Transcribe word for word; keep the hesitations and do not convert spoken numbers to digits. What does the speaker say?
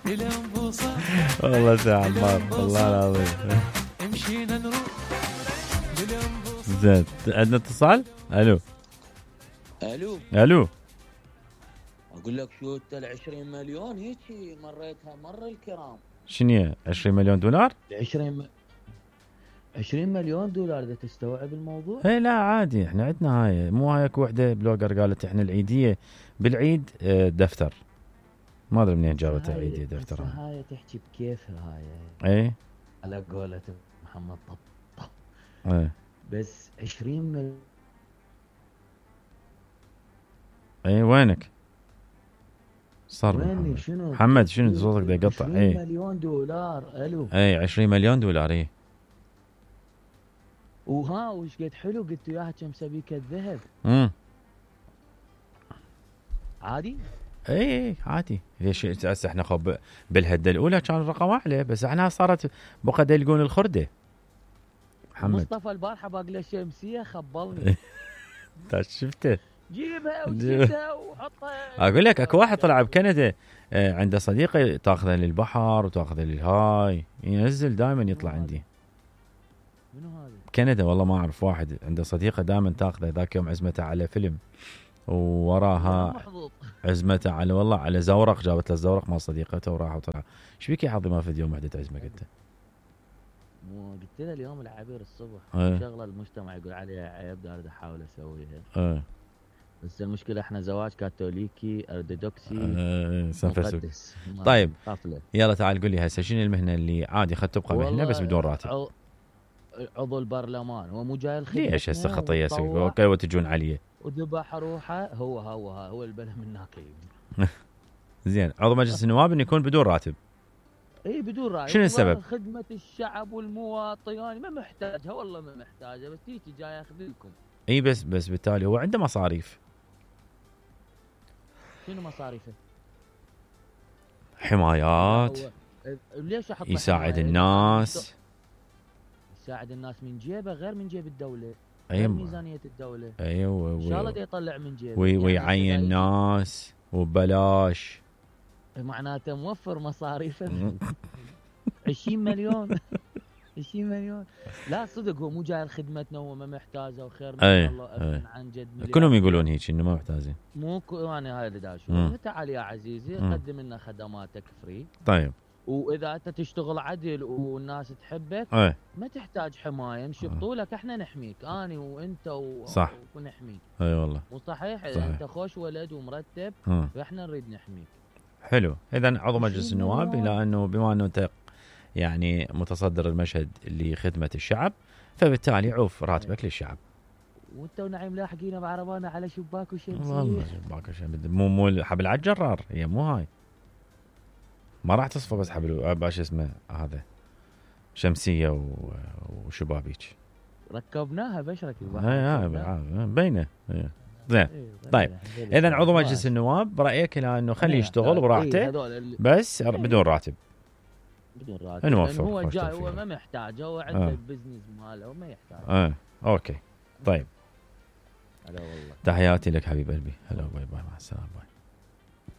والله سي عمار والله العظيم. زين عندنا اتصال. الو الو الو اقول لك شو انت ال عشرين مليون هيك مريتها مر الكرام. شنو عشرين مليون دولار؟ عشرين عشرين مليون دولار اذا تستوعب الموضوع؟ اي لا عادي احنا عندنا هاي مو هاي اكو وحده بلوجر قالت احنا العيديه بالعيد دفتر ما ادري منين جابت العيديه دفتر. هاي تحكي بكيفها هاي اي على قولة محمد طب اي بس عشرين مليون. اي وينك؟ صار ويني شنو؟ محمد شنو صوتك دا يقطع. اي عشرين مليون دولار. الو اي عشرين مليون دولار. اي وها وش قد حلو قلت وياها كم سبيكه ذهب. امم عادي. اي اي عادي. ليش هسه احنا خب بالهده الاولى كان الرقم اعلى بس احنا صارت بقى يلقون الخرده. محمد مصطفى البارحه باقله شمسيه خبلني. انت شفته؟ جيبها وجيبها وحطها. اقول لك اكو واحد طلع بكندا عنده صديقه تاخذه للبحر وتاخذه للهاي ينزل دائما يطلع عندي. منو هذا؟ بكندا والله ما اعرف. واحد عنده صديقه دائما تاخذه. ذاك يوم عزمته على فيلم ووراها عزمته على والله على زورق جابت له الزورق مال صديقته وراح وطلع. ايش بيك يا حظي ما في يوم وحده عزمك انت؟ مو قلت له اليوم العبير الصبح ايه. شغله المجتمع يقول عليها عيب اريد احاول اسويها. ايه. بس المشكله احنا زواج كاثوليكي ارثوذكسي ايه مقدس. طيب قافله. يلا تعال قول لي هسه شنو المهنه اللي عادي خد تبقى مهنه بس بدون راتب؟ عضو البرلمان هو مو جاي الخدمه. ليش هسه خطيه سوي اوكي وتجون عليه وذبح روحه. هو هو هو البله من هناك. زين عضو مجلس النواب انه يكون بدون راتب. اي بدون راتب. شنو السبب؟ خدمه الشعب والمواطن يعني ما محتاجها والله ما محتاجها بس تيجي جاي ياخذ لكم. اي بس بس بالتالي هو عنده مصاريف. شنو مصاريفه؟ حمايات. ليش احط يساعد الناس. يساعد الناس من جيبه غير من جيب الدوله. ايوه ميزانيه الدوله. ايوه ان شاء الله دا يطلع من جيبه. وي ويعين يعني ناس وببلاش. معناته موفر مصاريفه. عشرين مليون. عشرين مليون. لا صدق هو مو جاي لخدمتنا هو ما محتاجه وخير من أي. الله أي. عن جد. كلهم يقولون هيك انه ما محتاجين. مو يعني هاي اللي دا اشوفه. تعال يا عزيزي قدم لنا خدماتك فري. طيب واذا انت تشتغل عدل والناس تحبك أي. ما تحتاج حمايه نشبطوا لك احنا نحميك اني وانت و... صح ونحميك. اي والله مو صحيح؟ اذا انت خوش ولد ومرتب فاحنا نريد نحميك. حلو. اذا عضو مجلس النواب الى انه بما انه انت يعني متصدر المشهد لخدمه الشعب فبالتالي عوف راتبك للشعب. وانت ونعيم لاحقينا بعربانا على شباك وشمسيه. والله شباك وشمسيه مو مو حبل على الجرار هي مو هاي ما راح تصفى بس حبل باش اسمه هذا شمسيه وشبابيك ركبناها بشرك. اي بينه. زين طيب اذا عضو مجلس النواب برايك الى انه خليه يشتغل براحته بس بدون راتب. بدون راتب. نوفر هو جاي هو ما محتاج هو عنده آه. البزنس ماله وما يحتاج. اه اوكي طيب. هلا والله تحياتي لك حبيب قلبي. هلا باي باي مع السلامه باي.